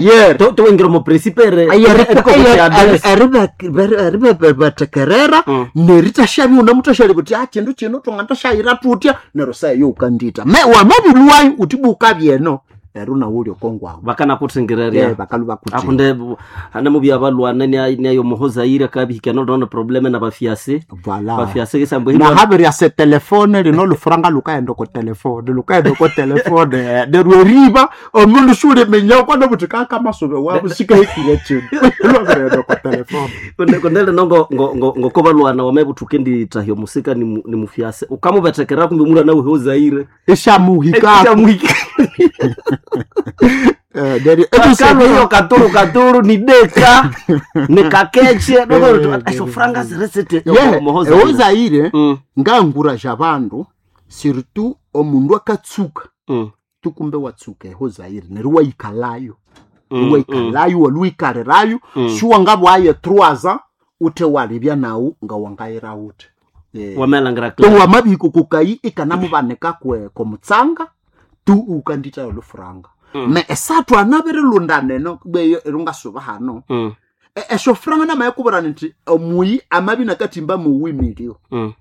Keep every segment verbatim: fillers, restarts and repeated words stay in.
Yer. Towingira omu principe eribetekerera Mm. neritashabya unamutashaleba uti "Ah, kindu kino twangatashayira tutya neryo sayo ukandita me wamabilwayo uti bukabyeno neryo nawe okongwawo bakanakuthingirerya bakalu bakuthi akunde hane mubya balwana niayo muhozaire akabihikana olona probleme na bafiase Voilà. bafiase kisambo nahabirya se telefone lino lufuranga lukaenda oko telefone lukaenda oko telefone neryo eriba omundu siuliminya kwana buti kakamasube wabo sikahikire kindu lwabirenda oko telefone kundele no ngo ngo ngo ngoko balwana wamebuthuke ndithahya omusika ni mu- ni mufiase ukamubethekerera kumbe mulwana wehozaire ishamuhika Eh, neryo Bakalo hiyo katuru katuru ni deka ni kakeche Eh, esho franga ziresete eozaire Mm, nganguraja bandu surtout omundu akatsuka mm, tukumbe watsuka ehozaire neryo wayikalayo mm, waikalayo waluikalirayo Mm. shuwangabwaye trois ans ute walibya nawu nga wangayira ute Eh. wamelangira to wamabihikukukayi ikanamubanika kwe komutsanga tu ukanditayo lufuranga Mm. me esathu anabirilunda neno beyo erungasuba hano Mm, E- esyo franga namayekubwira nti omuyi amabi nakathimba muwi milio mm,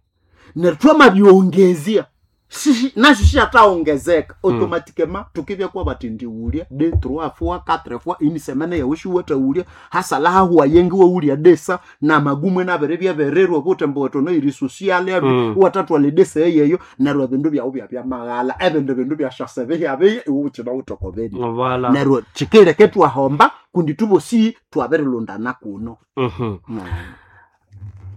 neryo twamabyongezya Shishi- nasyo shyathaongezeka automatikema tukibya bati ndiwulya de trois fois quatre fois ini semene yawe shiwatawulya hasala hahuwa yengi wawulya desa namagumwe nabere byabererwa butembo wetono iri social Mm. watatwala edesa eyeyo neryo ebindu byawu byabyamaghala ebindu bindu byashasebe hyabiye iwe ukina wutokobeni voilà neryo kikileke twahomba kundi tubosi twabirilundana kuno Mhm.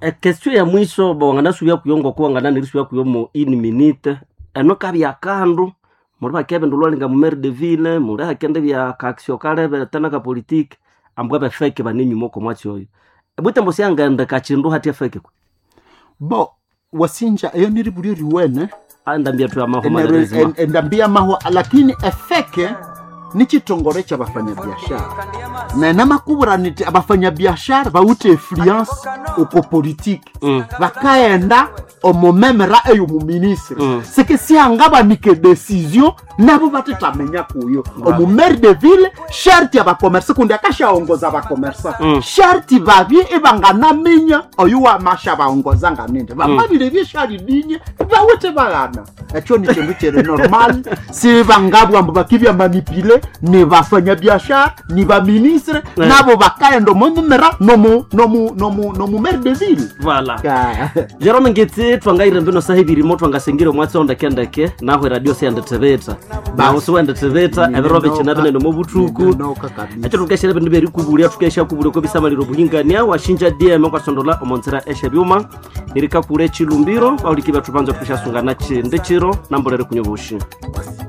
Ekestion ya mwiso wanganasubya kuyo ngoko wangananirisubya kuyo mu in minute eno kabya kandu muli bakebe ndulwalinga mu maire de ville muli hakende bya kaksio kalebe tena ka politique ambwa befeke banenyuma oko mwatsi oyo ebwitembo syangende kachindu hathi efeke kwe bo wasinja eyo niribulyo riwene andambia tu amaho Eneru- malheureusement en- endambia mahwa lakini efeke ni chitongore cha bafanyabiashara na namakubura niti abafanyabiashara bawite influence uko politiki Mm. bakaenda omumemera eyo muministre Mm. sike siangabanike decision nabo batetamenya kuyo omumaire de ville sharti abakomersa kundi akashaongoza abakomersa Mm. sharti babye ibanganaminya oyu wamasha baongoza nganende bamabire byeshalidinye bawete baghana ekyo ni kindu kiri normal si bangabwa mbu bakibya manipule ni bafanyabiashara ni baministre Eh. nabo bakaenda omumemera nomu nomu nomu nomu maire de ville voilà Ka- Jerome Ngitsi twangaire mbino saha ibirimo twangasengire omwatsi ondekendeke naho eradio siyandithibitha naho siwendithibitha ebiro bikina binene omu buthuku Ninoka kabisa. ekyo tukeshere bindu byerikubulya tukesha kubulya kwebisamaliro obuhingania washinja dm kwasondola omonzira eshebyuma nirikakura echilumbiro bahuliki bethu banza tukeshasungana chindi chiro nambolere kunywa obushi Basi.